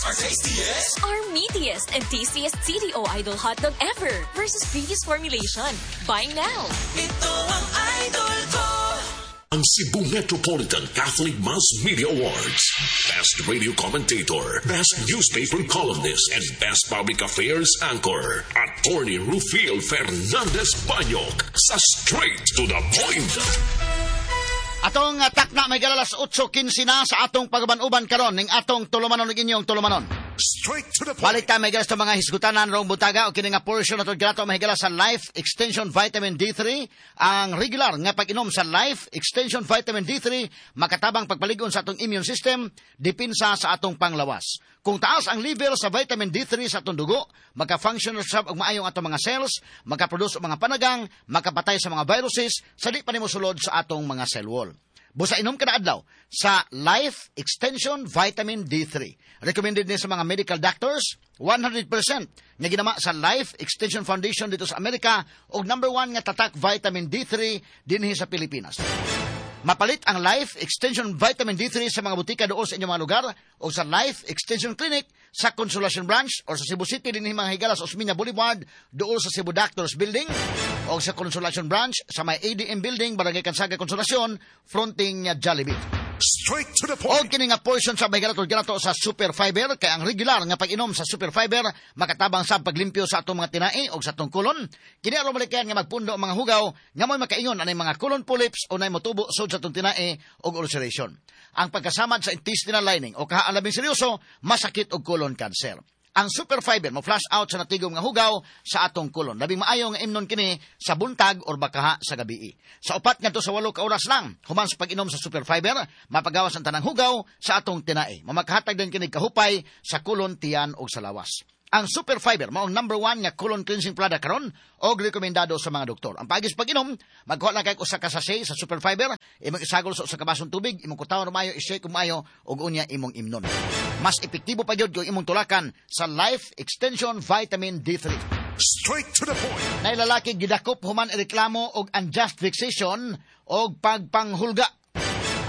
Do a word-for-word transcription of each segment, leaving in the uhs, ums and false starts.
It's our tastiest. Our meatiest and tastiest C D O Idol hotdog ever versus previous formulation. Buy now. Ito ang idol ko. Ang Cebu Metropolitan Catholic Mass Media Awards. Best Radio Commentator, Best Newspaper Columnist, and Best Public Affairs Anchor. Attorney Rufil Fernandez Banyok sa Straight to the Point. Atong uh, takna may alas otso kinse na sa atong pag-uban-uban karon ning atong tulumanon ug inyong tulumanon. Straight to the Point. Balik ta may sa mga hisgutanan rong butaga o kini nga portion nato ganato mahigala sa Life Extension Vitamin D three. Ang regular nga pag-inom sa Life Extension Vitamin D three makatabang pagpaligon sa atong immune system, depensa sa atong panglawas. Kung taas ang level sa vitamin D three sa atong dugo, maka-function sab og maayong atong mga cells, makaproduce og mga panagang, makapatay sa mga viruses sa di pa nimo sulod sa atong mga cell wall. Busa inom kada adlaw sa Life Extension Vitamin D three. Recommended ni sa mga medical doctors, one hundred percent nga ginama sa Life Extension Foundation dito sa Amerika og number one nga tatak vitamin D three dinhi sa Pilipinas. Mapalit ang Life Extension Vitamin D three sa mga butika doon sa inyong mga lugar o sa Life Extension Clinic sa Consolacion Branch or sa Cebu City dinhi mga higala sa Osmeña Boulevard doon sa Cebu Doctors Building o sa Consolacion Branch sa may A D M Building, Barangay Cansaga, Consolacion, fronting uh, Jollibee. Straight to the O Point. Kini nga portion sa may ganato ganato sa Super Fiber kay ang regular nga pag-inom sa Super Fiber makatabang sa paglimpyo sa atong mga tinai o sa atong kolon. Kini aron malikayan nga magpundo ang mga hugaw nga mo'y makaingon anay mga colon polyps o nay motubo sud sa atong tinai og ulceration. Ang pagkasamad sa intestinal lining o kaha ang labing seryoso, masakit og colon cancer. Ang Super Fiber mo flush out sa natigom nga hugaw sa atong kolon. Labing maayo nga imnon kini sa buntag or bakaha sa gabi. Sa upat ngadto sa walo ka oras lang, human sa pag-inom sa Super Fiber, mapagawas ang tanang hugaw sa atong tinai. Mamakahatag din kini kahupay sa kolon, tiyan ug sa lawas. Ang Super Fiber mao ang number one nga colon cleansing product karon og rekomendado sa mga doktor. Ang paagi sa pag-inom, magkuha lang kay usa ka sachet sa Super Fiber, imong isagol sa usa ka basong tubig, imong kutawon maayo, i-shake maayo ug unya imong imnon. Mas epektibo pa gyud kung imong tulakan sa Life Extension Vitamin D three. Straight to the Point. Nay lalaki gidakop human reklamo og unjust fixation og pagpanghulga.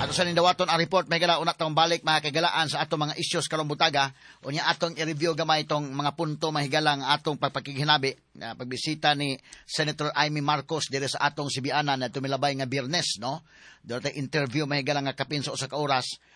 Ato sa nindawaton ang report may gala una tong balik mga kagalaan sa atong mga issues karong butaga. Unya atong i-review gamay itong mga punto mahigala ang atong pagpakighinabi na pagbisita ni Senator Imee Marcos dire sa atong Sibianan na tumilabay nga Biyernes, no? Dito interview mahigala nga kapin sa usa ka oras.